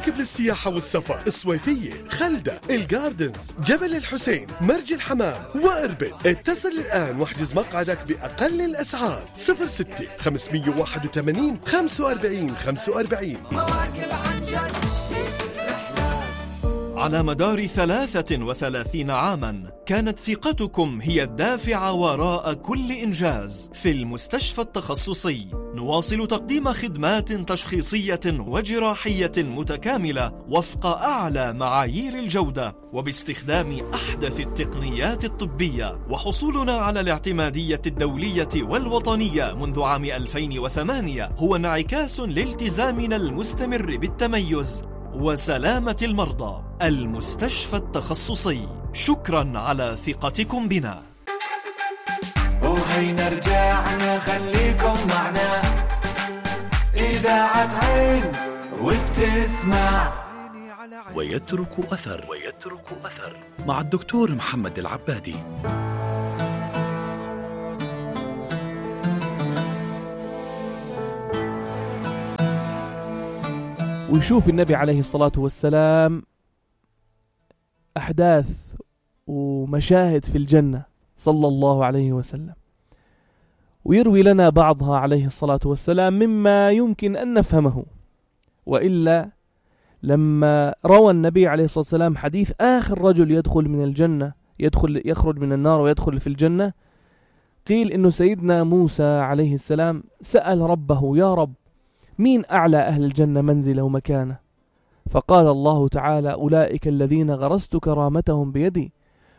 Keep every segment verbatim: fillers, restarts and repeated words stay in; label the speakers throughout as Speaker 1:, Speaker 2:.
Speaker 1: مراكب للسياحة والسفر، الصويفية، خلدة، الجاردنز، جبل الحسين، مرج الحمام وإربد. اتصل الآن واحجز مقعدك بأقل الأسعار. صفر ستة خمسمية وواحد وثمانين خمسة وأربعين خمسة وأربعين.
Speaker 2: مواكب عن جد.
Speaker 3: على مدار ثلاثة وثلاثين عاماً كانت ثقتكم هي الدافع وراء كل إنجاز. في المستشفى التخصصي نواصل تقديم خدمات تشخيصية وجراحية متكاملة وفق أعلى معايير الجودة وباستخدام أحدث التقنيات الطبية. وحصولنا على الاعتمادية الدولية والوطنية منذ عام ألفين وثمانية هو انعكاس لالتزامنا المستمر بالتميز وسلامة المرضى. المستشفى التخصصي، شكرا على ثقتكم بنا.
Speaker 2: وهينا رجعنا خليكم معنا، إذاعة عين وبتسمع
Speaker 4: ويترك أثر ويترك أثر مع الدكتور محمد العبادي.
Speaker 5: ويشوف النبي عليه الصلاة والسلام أحداث ومشاهد في الجنة صلى الله عليه وسلم، ويروي لنا بعضها عليه الصلاة والسلام مما يمكن أن نفهمه. وإلا لما روى النبي عليه الصلاة والسلام حديث آخر رجل يدخل من الجنة يدخل يخرج من النار ويدخل في الجنة، قيل إنه سيدنا موسى عليه السلام سأل ربه: يا رب، مين أعلى أهل الجنة منزلة ومكانة؟ فقال الله تعالى: أولئك الذين غرست كرامتهم بيدي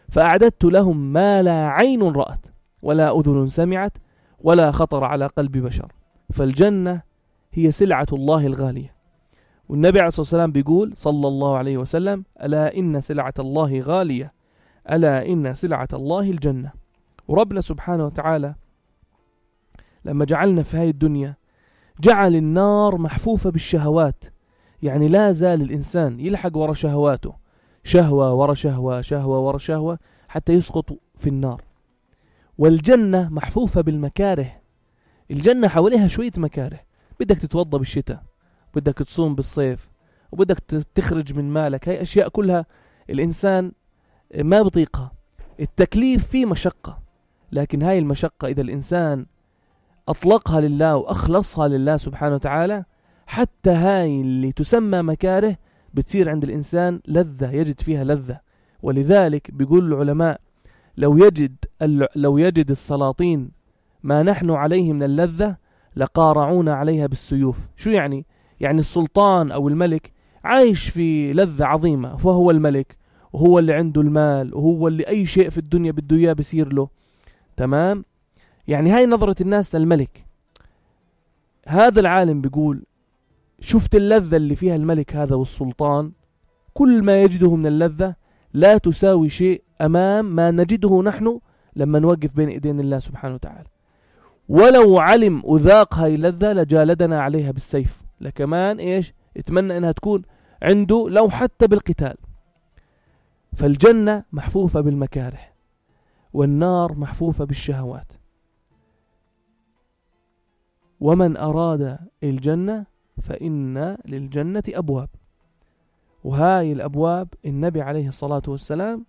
Speaker 5: فأعددت لهم ما لا عين رأت ولا أذن سمعت ولا خطر على قلب بشر. فالجنة هي سلعة الله الغالية. والنبي عليه الصلاة والسلام بيقول صلى الله عليه وسلم: ألا إن سلعة الله غالية، ألا إن سلعة الله الجنة. وربنا سبحانه وتعالى لما جعلنا في هاي الدنيا جعل النار محفوفة بالشهوات، يعني لا زال الإنسان يلحق ورا شهواته، شهوة ورا شهوة شهوة ورا شهوة حتى يسقط في النار. والجنة محفوفة بالمكاره. الجنة حواليها شوية مكاره، بدك تتوضى بالشتاء، بدك تصوم بالصيف، وبدك تخرج من مالك. هاي أشياء كلها الإنسان ما بطيقها. التكليف فيه مشقة، لكن هاي المشقة إذا الإنسان أطلقها لله وأخلصها لله سبحانه وتعالى، حتى هاي اللي تسمى مكاره بتصير عند الإنسان لذة، يجد فيها لذة. ولذلك بيقول العلماء: لو يجد لو يجد السلاطين ما نحن عليه من اللذة لقارعونا عليها بالسيوف. شو يعني؟ يعني السلطان أو الملك عايش في لذة عظيمة، فهو الملك وهو اللي عنده المال وهو اللي أي شيء في الدنيا بده إياه بيصير له، تمام؟ يعني هاي نظرة الناس للملك. هذا العالم بيقول: شفت اللذة اللي فيها الملك هذا والسلطان، كل ما يجده من اللذة لا تساوي شيء أمام ما نجده نحن لما نوقف بين إيدين الله سبحانه وتعالى. ولو علم وذاق هاي اللذة لجالدنا عليها بالسيف، لكمان إيش اتمنى إنها تكون عنده لو حتى بالقتال. فالجنة محفوفة بالمكاره والنار محفوفة بالشهوات. ومن أراد الجنة فإن للجنة أبواب، وهاي الأبواب النبي عليه الصلاة والسلام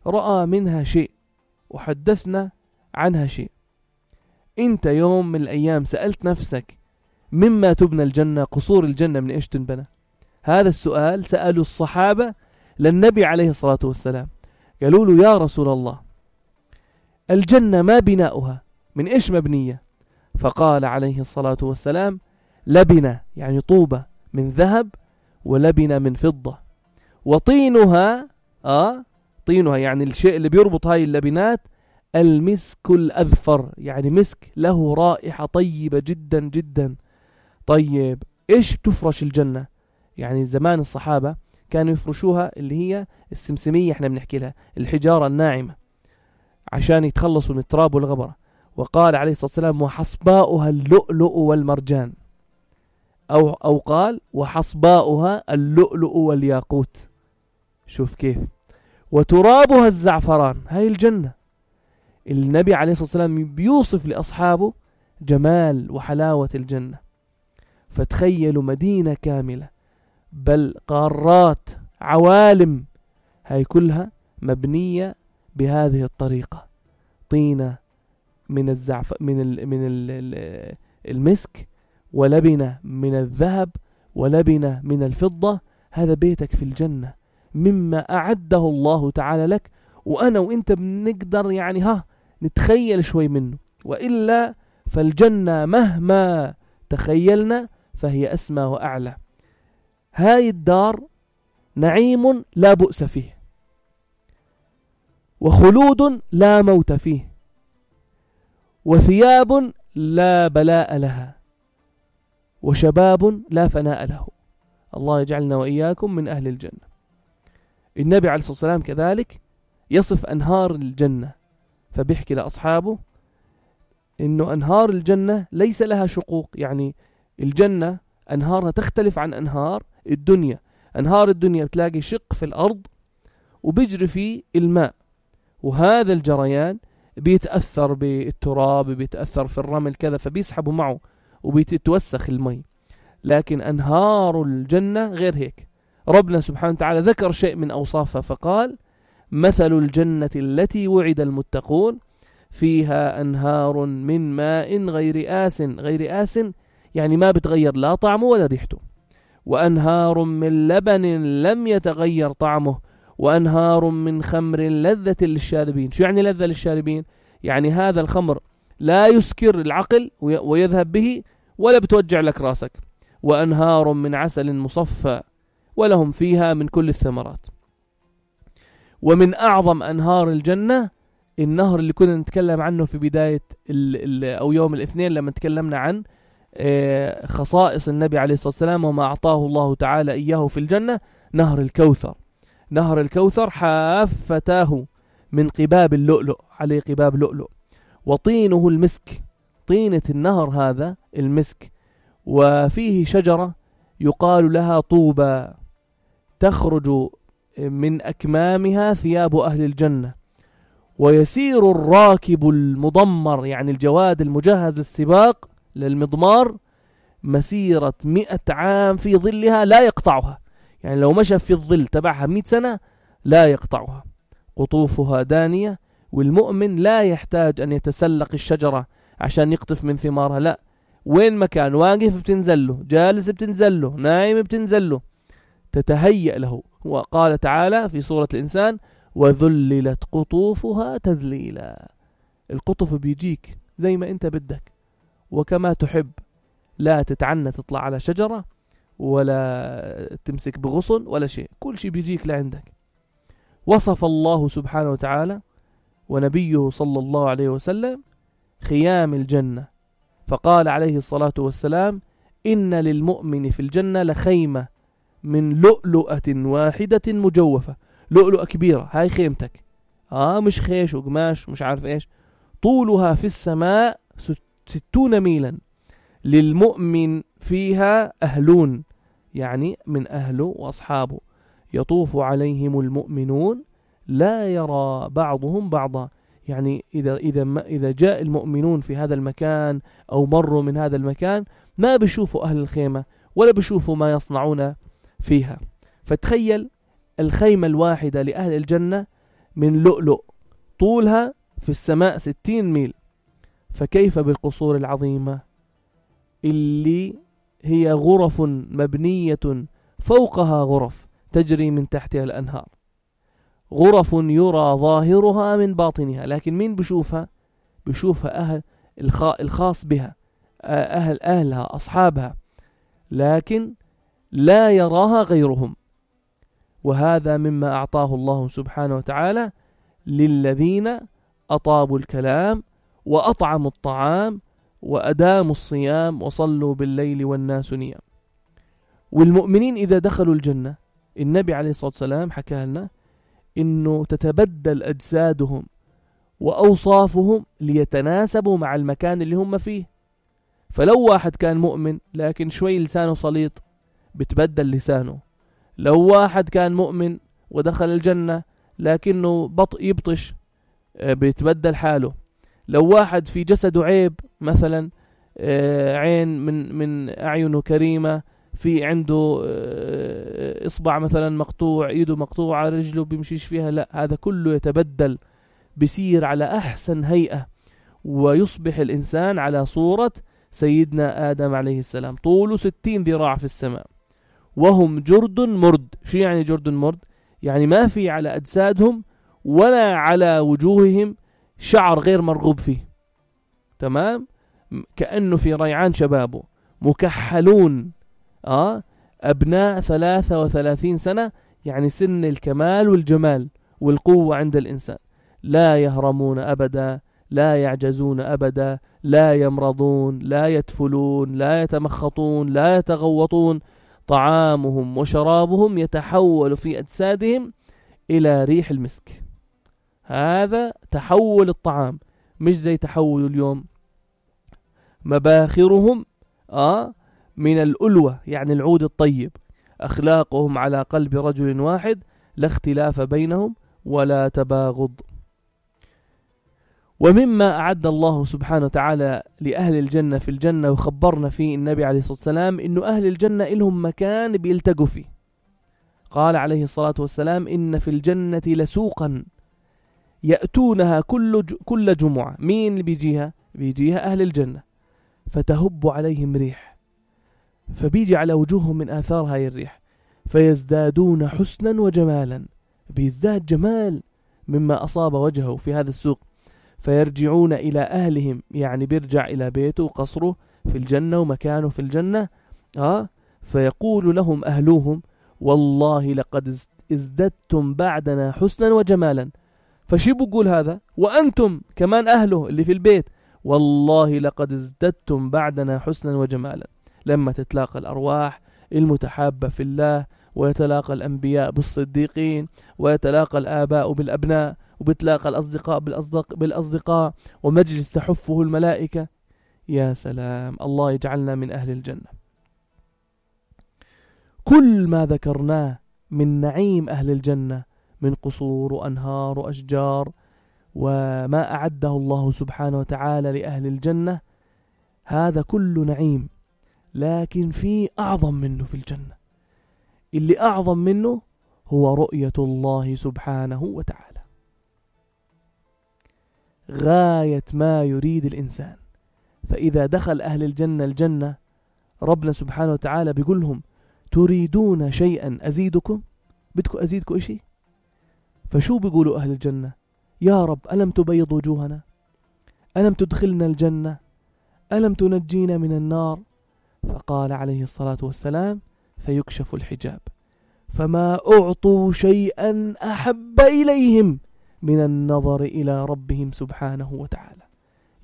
Speaker 5: رأى منها شيء وحدثنا عنها شيء. انت يوم من الأيام سألت نفسك مما تبنى الجنة؟ قصور الجنة من إيش تنبنى؟ هذا السؤال سألوا الصحابة للنبي عليه الصلاة والسلام، قالوا له: يا رسول الله، الجنة ما بناؤها؟ من إيش مبنية؟ فقال عليه الصلاة والسلام: لبنة، يعني طوبة من ذهب، ولبنة من فضة، وطينها آه طينها يعني الشيء اللي بيربط هاي اللبنات المسك الأذفر، يعني مسك له رائحة طيبة جدا جدا. طيب إيش تفرش الجنة؟ يعني زمان الصحابة كانوا يفرشوها اللي هي السمسمية، احنا بنحكي لها الحجارة الناعمة، عشان يتخلصوا من التراب والغبرة. وقال عليه الصلاة والسلام: وحصباؤها اللؤلؤ والمرجان، أو, أو قال: وحصباؤها اللؤلؤ والياقوت. شوف كيف. وترابها الزعفران. هاي الجنة. النبي عليه الصلاة والسلام بيوصف لأصحابه جمال وحلاوة الجنة. فتخيلوا مدينة كاملة بل قارات عوالم، هاي كلها مبنية بهذه الطريقة. طينة من الزعف من ال من ال المسك، ولبنة من الذهب، ولبنة من الفضة. هذا بيتك في الجنة مما أعده الله تعالى لك، وأنا وإنت بنقدر يعني ها نتخيل شوي منه، وإلا فالجنة مهما تخيلنا فهي أسمى وأعلى. هاي الدار نعيم لا بؤس فيه، وخلود لا موت فيه، وثياب لا بلاء لها، وشباب لا فناء له. الله يجعلنا وإياكم من أهل الجنة. النبي عليه الصلاة والسلام كذلك يصف أنهار الجنة، فبيحكي لأصحابه إنه أنهار الجنة ليس لها شقوق، يعني الجنة أنهارها تختلف عن أنهار الدنيا. أنهار الدنيا بتلاقي شق في الأرض وبيجري فيه الماء، وهذا الجريان بيتأثر بالتراب، بيتأثر في الرمل كذا، فبيسحبوا معه وبيتوسخ المي. لكن أنهار الجنة غير هيك. ربنا سبحانه وتعالى ذكر شيء من أوصافها فقال: مثل الجنة التي وعد المتقون فيها أنهار من ماء غير آس. غير آس يعني ما بتغير لا طعمه ولا ريحته. وأنهار من لبن لم يتغير طعمه، وأنهار من خمر لذة للشاربين. شو يعني لذة للشاربين؟ يعني هذا الخمر لا يسكر العقل ويذهب به، ولا بتوجع لك راسك. وأنهار من عسل مصفى، ولهم فيها من كل الثمرات. ومن أعظم أنهار الجنة النهر اللي كنا نتكلم عنه في بداية ال ال أو يوم الاثنين لما تكلمنا عن خصائص النبي عليه الصلاة والسلام وما أعطاه الله تعالى إياه في الجنة، نهر الكوثر. نهر الكوثر حافتاه من قباب اللؤلؤ، عليه قباب لؤلؤ، وطينه المسك. طينة النهر هذا المسك، وفيه شجرة يقال لها طوبى، تخرج من أكمامها ثياب أهل الجنة. ويسير الراكب المضمر، يعني الجواد المجهز للسباق للمضمار، مسيرة مئة عام في ظلها لا يقطعها. يعني لو مشى في الظل تبعها مئة سنة لا يقطعها. قطوفها دانية، والمؤمن لا يحتاج أن يتسلق الشجرة عشان يقطف من ثمارها، لا، وين مكان واقف بتنزله، جالس بتنزله، نايم بتنزله، تتهيأ له. وقال تعالى في سورة الإنسان: وذللت قطوفها تذليلا. القطف بيجيك زي ما انت بدك وكما تحب، لا تتعنى تطلع على شجرة ولا تمسك بغصن ولا شيء، كل شيء بيجيك لعندك. وصف الله سبحانه وتعالى ونبيه صلى الله عليه وسلم خيام الجنة، فقال عليه الصلاة والسلام: إن للمؤمن في الجنة لخيمة من لؤلؤة واحدة مجوفة. لؤلؤة كبيرة، هاي خيمتك، آه مش خيش وقماش مش عارف إيش. طولها في السماء ستون ميلا، للمؤمن فيها أهلون، يعني من أهله وأصحابه، يطوف عليهم المؤمنون لا يرى بعضهم بعضا. يعني إذا إذا ما إذا جاء المؤمنون في هذا المكان أو مروا من هذا المكان ما بيشوفوا أهل الخيمة ولا بيشوفوا ما يصنعون فيها. فتخيل الخيمة الواحدة لأهل الجنة من لؤلؤ، طولها في السماء ستين ميل، فكيف بالقصور العظيمة اللي هي غرف مبنية فوقها غرف تجري من تحتها الأنهار، غرف يرى ظاهرها من باطنها، لكن مين بشوفها؟ بشوفها أهل الخاص بها، أهل أهلها أصحابها، لكن لا يراها غيرهم. وهذا مما أعطاه الله سبحانه وتعالى للذين أطابوا الكلام وأطعموا الطعام وأداموا الصيام وصلوا بالليل والناس نيام. والمؤمنين إذا دخلوا الجنة، النبي عليه الصلاة والسلام حكى لنا إنه تتبدل أجسادهم وأوصافهم ليتناسبوا مع المكان اللي هم فيه. فلو واحد كان مؤمن لكن شوي لسانه صليط بتبدل لسانه، لو واحد كان مؤمن ودخل الجنة لكنه بطء يبطش بيتبدل حاله، لو واحد في جسده عيب مثلا عين من من أعينه كريمة، في عنده إصبع مثلا مقطوع، إيده مقطوعة، رجله بيمشيش فيها، لا، هذا كله يتبدل، بيصير على أحسن هيئة، ويصبح الإنسان على صورة سيدنا آدم عليه السلام، طوله ستين ذراع في السماء، وهم جرد مرد. شو يعني جرد مرد؟ يعني ما في على أجسادهم ولا على وجوههم شعر غير مرغوب فيه، تمام؟ كأنه في ريعان شبابه، مكحلون، آه أبناء ثلاثة وثلاثين سنة، يعني سن الكمال والجمال والقوة عند الإنسان. لا يهرمون أبدا، لا يعجزون أبدا، لا يمرضون، لا يتفلون، لا يتمخطون، لا يتغوطون. طعامهم وشرابهم يتحول في أجسادهم إلى ريح المسك. هذا تحول الطعام، مش زي تحول اليوم. مباخرهم آه من الألوة، يعني العود الطيب. أخلاقهم على قلب رجل واحد، لا اختلاف بينهم ولا تباغض. ومما أعد الله سبحانه وتعالى لأهل الجنة في الجنة، وخبرنا فيه النبي عليه الصلاة والسلام إنه أهل الجنة إلهم مكان بيلتقوا فيه. قال عليه الصلاة والسلام: إن في الجنة لسوقا يأتونها كل كل جمعة. مين اللي بيجيها؟ بيجيها أهل الجنة، فتهب عليهم ريح، فبيجي على وجوههم من آثار هاي الريح، فيزدادون حسنا وجمالا، بيزداد جمال مما أصاب وجهه في هذا السوق. فيرجعون إلى أهلهم، يعني بيرجع إلى بيته وقصره في الجنة ومكانه في الجنة. آه فيقول لهم أهلوهم: والله لقد ازددتم بعدنا حسنا وجمالا. فشي بقول هذا؟ وأنتم كمان أهله اللي في البيت: والله لقد ازددتم بعدنا حسنا وجمالا. لما تتلاقى الأرواح المتحابة في الله، ويتلاقى الأنبياء بالصديقين، ويتلاقى الآباء بالأبناء، وبتلاقى الأصدقاء بالأصدق بالأصدقاء، ومجلس تحفه الملائكة. يا سلام، الله يجعلنا من أهل الجنة. كل ما ذكرناه من نعيم أهل الجنة من قصور وأنهار وأشجار، وما أعده الله سبحانه وتعالى لأهل الجنة، هذا كله نعيم، لكن في أعظم منه في الجنة. اللي أعظم منه هو رؤية الله سبحانه وتعالى. غاية ما يريد الإنسان. فإذا دخل أهل الجنة الجنة، ربنا سبحانه وتعالى بيقول لهم: تريدون شيئا أزيدكم؟ بدكم أزيدكم إشي؟ فشو بيقولوا أهل الجنة؟ يا رب، ألم تبيض وجوهنا؟ ألم تدخلنا الجنة؟ ألم تنجينا من النار؟ فقال عليه الصلاة والسلام: فيكشف الحجاب، فما أعطوا شيئا أحب إليهم من النظر إلى ربهم سبحانه وتعالى.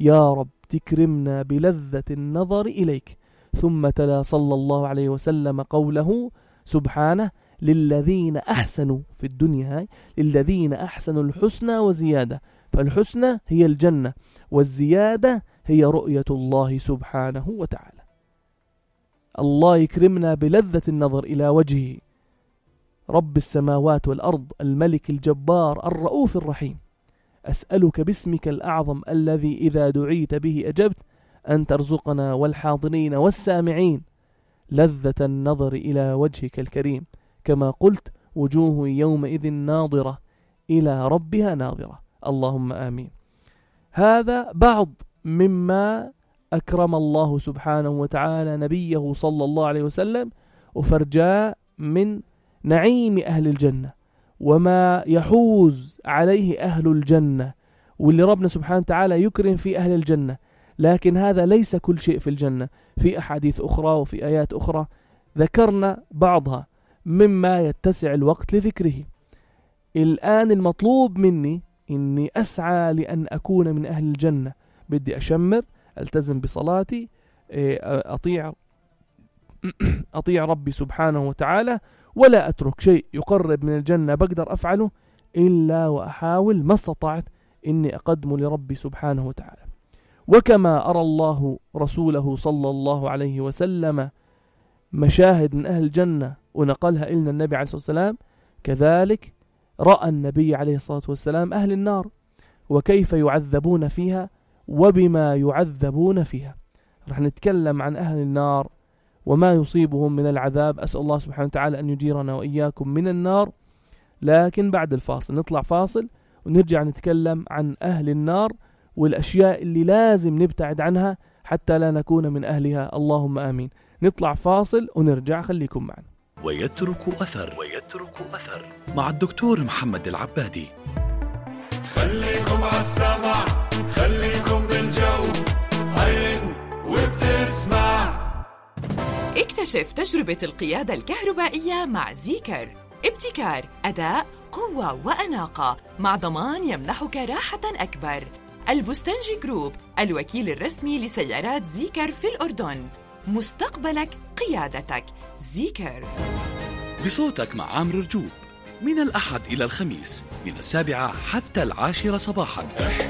Speaker 5: يا رب تكرمنا بلذة النظر إليك. ثم تلا صلى الله عليه وسلم قوله سبحانه: للذين أحسنوا في الدنيا هاي للذين أحسنوا الحسنى وزيادة. فالحسنى هي الجنة، والزيادة هي رؤية الله سبحانه وتعالى. الله يكرمنا بلذة النظر إلى وجهه، رب السماوات والأرض، الملك الجبار الرؤوف الرحيم. أسألك باسمك الأعظم الذي إذا دعيت به أجبت أن ترزقنا والحاضرين والسامعين لذة النظر إلى وجهك الكريم، كما قلت: وجوه يومئذ ناظرة إلى ربها ناظرة. اللهم آمين. هذا بعض مما أكرم الله سبحانه وتعالى نبيه صلى الله عليه وسلم وفرجاء من نعيم أهل الجنة، وما يحوز عليه أهل الجنة، واللي ربنا سبحانه وتعالى يكرم في أهل الجنة. لكن هذا ليس كل شيء في الجنة، في أحاديث أخرى وفي آيات أخرى ذكرنا بعضها مما يتسع الوقت لذكره. الآن المطلوب مني إني أسعى لأن أكون من أهل الجنة. بدي أشمر، ألتزم بصلاتي، أطيع أطيع ربي سبحانه وتعالى، ولا أترك شيء يقرب من الجنة بقدر أفعله إلا وأحاول ما استطعت إني أقدم لربي سبحانه وتعالى. وكما أرى الله رسوله صلى الله عليه وسلم مشاهد من أهل الجنة ونقلها إلنا النبي عليه الصلاة والسلام، كذلك رأى النبي عليه الصلاة والسلام أهل النار وكيف يعذبون فيها وبما يعذبون فيها. رح نتكلم عن أهل النار وما يصيبهم من العذاب. أسأل الله سبحانه وتعالى أن يجيرنا وإياكم من النار. لكن بعد الفاصل نطلع فاصل ونرجع نتكلم عن أهل النار والأشياء اللي لازم نبتعد عنها حتى لا نكون من أهلها، اللهم آمين. نطلع فاصل ونرجع، خليكم معنا.
Speaker 4: ويترك أثر ويترك أثر مع الدكتور محمد العبادي.
Speaker 2: خليكم عالسمع، خليكم بالجو، هين وبتسمع.
Speaker 6: اكتشف تجربة القيادة الكهربائية مع زيكر. ابتكار، أداء، قوة وأناقة مع ضمان يمنحك راحة أكبر. البستنجي جروب، الوكيل الرسمي لسيارات زيكر في الأردن. مستقبلك قيادتك. زيكر.
Speaker 4: بصوتك مع عامر رجوب من الأحد إلى الخميس من السابعة حتى العاشرة صباحاً.